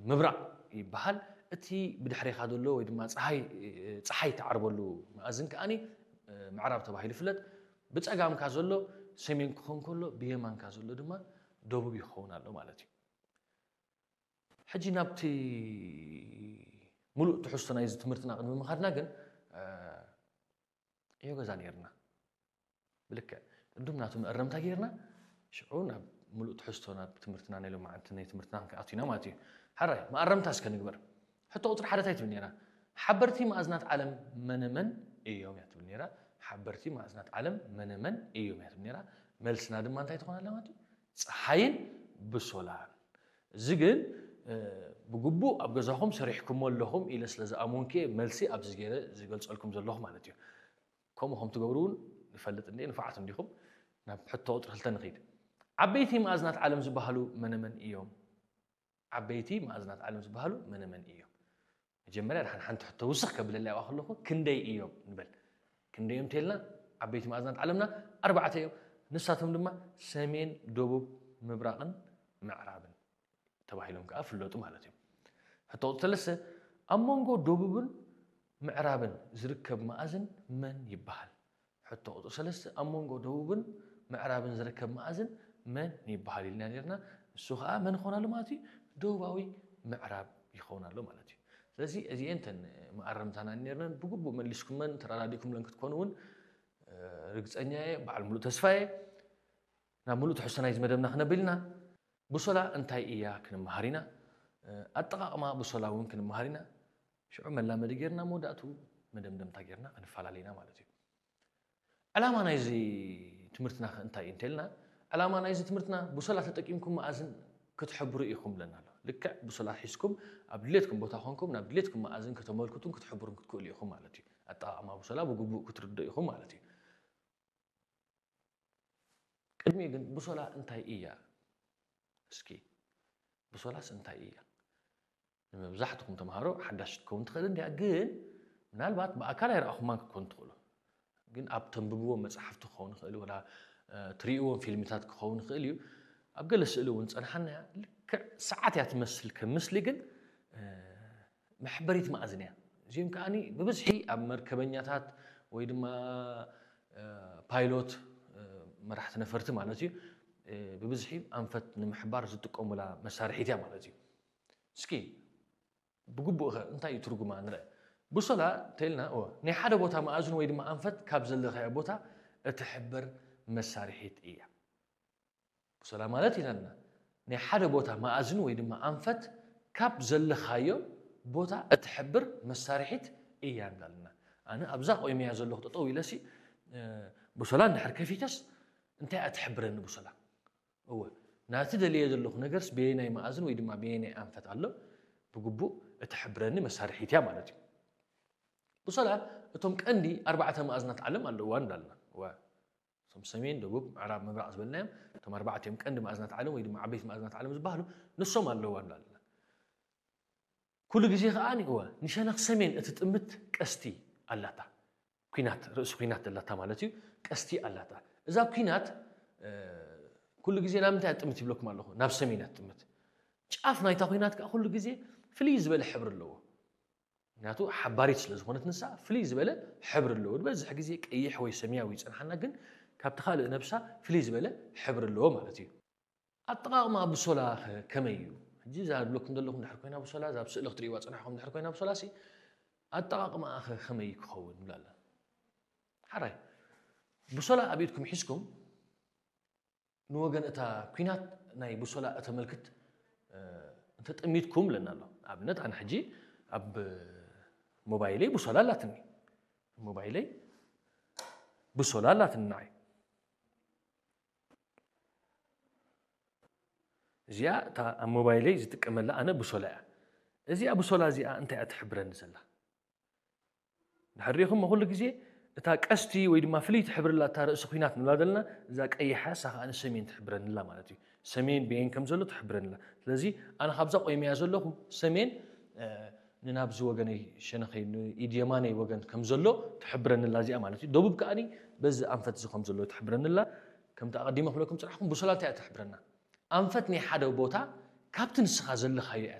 ምብራቕ ይበሃል። እቲ ብድሕሬኻ ዘሎ ወይ ድማ ፀሓይ ፀሓይ ትዓርበሉ መኣዝን ከኣኒ ምዕራብ ተባሂሉ ይፍለጥ። ብፀጋምካ ዘሎ ሰሜን ክኾን ከሎ ብየማንካ ዘሎ ድማ ደቡብ ይኸውን ኣሎ ማለት እዩ። ሕጂ ናብቲ ሙሉእ ትሕዝቶ ናይዚ ትምህርትና ቅድሚ ምኻድና ግን ዕዮ ገዛ ነይርና። ብልክዕ ቅዱም ናቱ መእረምታ ጌርና ሽዑ ናብ ሙሉእ ትሕዝቶ ናብ ትምህርትና ናይ ሎማዓንቲ ናይ ትምህርትና ክንኣቱ ኢና ማለት እዩ። ሓራይ መኣረምታ እስከ ንግበር። ሕቶ ቁፅሪ ሓደ እንታይ ትብል ነይራ? ሓበርቲ ማእዝናት ዓለም መነመን እዮም እያ ትብል ነይራ። ሓበርቲ ማእዝናት ዓለም መነመን እዮም እያ ትብል ነይራ። መልስና ድማ እንታይ ትኾን ኣላ ማለት እዩ? ፀሓይን ብሶላን። እዚ ግን ብግቡእ ኣብ ገዛኹም ሰሪሕኩሞ ኣለኹም ኢለ ስለ ዝኣመንኩ እየ መልሲ ኣብዚ ገይረ ዝገልፀልኩም ዘለኹ ማለት እዩ። ከምኡ ከም ትገብሩ እውን ንፈልጥ እንዴ ንፉዓት እንዲኹም። ናብ ሕቶ ቁፅሪ ክልተ ንኸይድ። ዓበይቲ ማእዝናት ዓለም ዝበሃሉ መነመን እዮም? ዓበይቲ ማእዝናት ዓለም ዝበሃሉ መነመን እዮም? መጀመርያ ድሓን ሓንቲ ሕቶ ውስኽ ከብለላ ይዋ ከለኹ ክንደይ እዮም ንበል። ክንደይ እዮም እንተልና ዓበይቲ ማእዝናት ዓለምና ኣርባዕተ እዮም። ንሳቶም ድማ ሰሜን፣ ደቡብ፣ ምብራቕን ምዕራብን ተባሂሎም ከዓ ፍለጡ ማለት እዮም። ሕቶ ቁፅሪ ሰለስተ ኣብ መንጎ ደቡብን ምዕራብን ዝርከብ መኣዝን መን ይበሃል? ሕቶ ቁፅሪ ሰለስተ ኣብ መንጎ ደቡብን ምዕራብን ዝርከብ መኣዝን መን ይበሃል ኢልና ነርና። እሱ ከዓ መን ይኸውን ኣሎ ማለት እዩ? ደቡባዊ ምዕራብ ይኸውን ኣሎ ማለት እዩ። ስለዚ እዚኤን ተን መኣረምታና ነርነን ብግቡእ መሊስኩመን ተረዳዲእኩምለን ክትኮኑ እውን ርግፀኛ እየ። በዓል ሙሉእ ተስፋ እየ። ናብ ሙሉእ ትሕዝቶ ናይዚ መደብና ክነብል ኢና። ብሶላ እንታይ እያ ክንመሃር ኢና። ኣጠቓቕማ ብሶላ እውን ክንመሃር ኢና። ሽዑ መላመዲ ጌርና መወዳእቱ መደምደምታ ጌርና ክንፈላለ ኢና ማለት እዩ። ዕላማ ናይዚ ትምህርትና ከ እንታይ እዩ እንተልና፣ ዕላማ ናይዚ ትምህርትና ብሶላ ተጠቂምኩም መኣዝን ክትሕብሩ ኢኹም ብለና ኣሎ። ልክዕ ብሶላ ሒዝኩም ኣብ ድሌትኩም ቦታ ኮንኩም ናብ ድሌትኩም መኣዝን ከተመልክቱን ክትሕብሩን ክትክእሉ ኢኹም ማለት እዩ። ኣጠቓቕማ ብሶላ ብግቡእ ክትርድኡ ኢኹም ማለት እዩ። ቅድሚ ግን ብሶላ እንታይ እያ? እስኪ ብሶላስ እንታይ እያ? ንመብዛሕትኹም ተምሃሮ ሓዳሽ ክትከውን ትኽእል እንዲያ፣ ግን ምናልባት ብኣካል ኣይረኣኹማን ክትኮኑ ትኽእሉ። ግን ኣብ ተንብብዎም መፅሓፍቲ ክኸውን ይኽእል፣ ወላ ትርእይዎም ፊልምታት ክኸውን ይኽእል እዩ። ኣብ ገለ ስእሊ እውን ፀንሓና እያ። ልክዕ ሰዓት እያ ትመስል ከም ምስሊ፣ ግን መሕበሪት መኣዝን እያ። እዚኦም ከዓኒ ብብዝሒ ኣብ መርከበኛታት ወይ ድማ ፓይሎት፣ መራሕቲ ነፈርቲ ማለት እዩ፣ ብብዝሒ ኣንፈት ንምሕባር ዝጥቀሙላ መሳርሒት እያ ማለት እዩ። እስኪ ብግቡእ ከ እንታይ እዩ ትርጉማ ንርአ። ብሶላ እንተኢልና ናይ ሓደ ቦታ መኣዝን ወይ ድማ ኣንፈት ካብ ዘለኻዮ ቦታ እትሕብር መሳርሒት እያ። ብሶላ ማለት ኢለና ናይ ሓደ ቦታ መኣዝን ወይ ድማ ኣንፈት ካብ ዘለኻዮ ቦታ እትሕብር መሳርሒት እያ እንብላ ኣለና። ኣነ ኣብዛ ቆይመያ ዘለኹ ጠጠው ኢለሲ ብሶላ እንድሕር ከፊተስ እንታይ እያ ትሕብረኒ ብሶላ? እወ ናቲ ደልየ ዘለኹ ነገርስ በየናይ መኣዝን ወይ ድማ በየናይ ኣንፈት ኣሎ ብግቡእ እትሕብረኒ መሳርሒት እያ ማለት እዩ። ብሶላ እቶም ቀንዲ ኣርባዕተ መኣዝናት ዓለም ኣለዋ እንብላ ኣለና። እቶም ሰሜን፣ ደቡብ፣ ምዕራብ፣ ምብራቕ ዝበልናዮም እቶም ኣርባዕተ እዮም ቀንዲ መኣዝናት ዓለም ወይ ድማ ዓበይቲ መኣዝናት ዓለም ዝበሃሉ ንሶም ኣለዋ እንብላ ኣለና። ኩሉ ግዜ ከዓ እወ ንሸነኽ ሰሜን እትጥምት ቀስቲ ኣላታ። ኲናት ርእሲ ኲናት ዘላታ ማለት እዩ። ቀስቲ ኣላታ። እዛ ኲናት ኩሉ ግዜ ናብ ምንታይ እያ ትጥምት ይብለኩም ኣለኹ? ናብ ሰሜን እያ ትጥምት። ጫፍ ናይታ ኲናት ከዓ ኩሉ ግዜ ፍልይ ዝበለ ሕብሪ ኣለዎ። ምክንያቱ ሓባሪት ስለ ዝኾነት ንሳ ፍልይ ዝበለ ሕብሪ ኣለዎ። ዝበዝሕ ግዜ ቀይሕ ወይ ሰማያዊ ይፀንሓና፣ ግን ካብቲ ካልእ ነብሳ ፍልይ ዝበለ ሕብሪ ኣለዎ ማለት እዩ። ኣጠቓቕማ ብሶላ ከ ከመይ እዩ? ሕጂ እዛ ዝብለኩም ዘለኹም ድሕር ኮይና ብሶላ፣ እዛ ኣብ ስእሊ ክትርእይዋ ጽናሕኩም ድሕር ኮይና ብሶላ ሲ ኣጠቓቕማኣ ከ ከመይ ክኸውን ንብላ ኣላ። ሓራይ ብሶላ ኣብ ኢድኩም ሒዝኩም ንወገን እታ ኲናት ናይ ብሶላ እተመልክት እንተጠሚትኩም ብለና ኣሎ። ንኣብነት ኣነ ሕጂ ኣብ ሞባይለይ ብሶላ ኣላትኒ። ሞባይለይ ብሶላ ኣላትኒ ንዓይ። እዚኣ እታ ኣብ ሞባይለይ ዝጥቀመላ ኣነ ብሶላ እያ። እዚኣ ብሶላ እዚኣ እንታይ እያ ትሕብረኒ ዘላ? ድሕር ሪኢኹሞ ኩሉ ግዜ እታ ቀስቲ ወይ ድማ ፍልይቲ ሕብሪ ኣላ እታ ርእሲ ኲናት ንብላ ዘለና፣ እዛ ቀይሓ እሳ ከኣ ንሰሜን ትሕብረኒ ኣላ ማለት እዩ። ሰሜን በየን ከም ዘሎ ትሕብረኒ ኣላ። ስለዚ ኣነ ካብዛ ቆይመያ ዘለኹ ሰሜን ንናብዚ ወገነይ ሸነኸይ ንኢድ የማነይ ወገን ከም ዘሎ ትሕብረኒ ኣላ እዚኣ ማለት እዩ። ደቡብ ከኣ በዚ ኣንፈት እዚ ከም ዘሎ ትሕብረኒ ኣላ። ከምቲ ኣቐዲመ ክብለኩም ጽናሕኩም ብሶላ እንታይ እያ ትሕብረና? ኣንፈት ናይ ሓደ ቦታ ካብቲ ንስኻ ዘለኻዮ እያ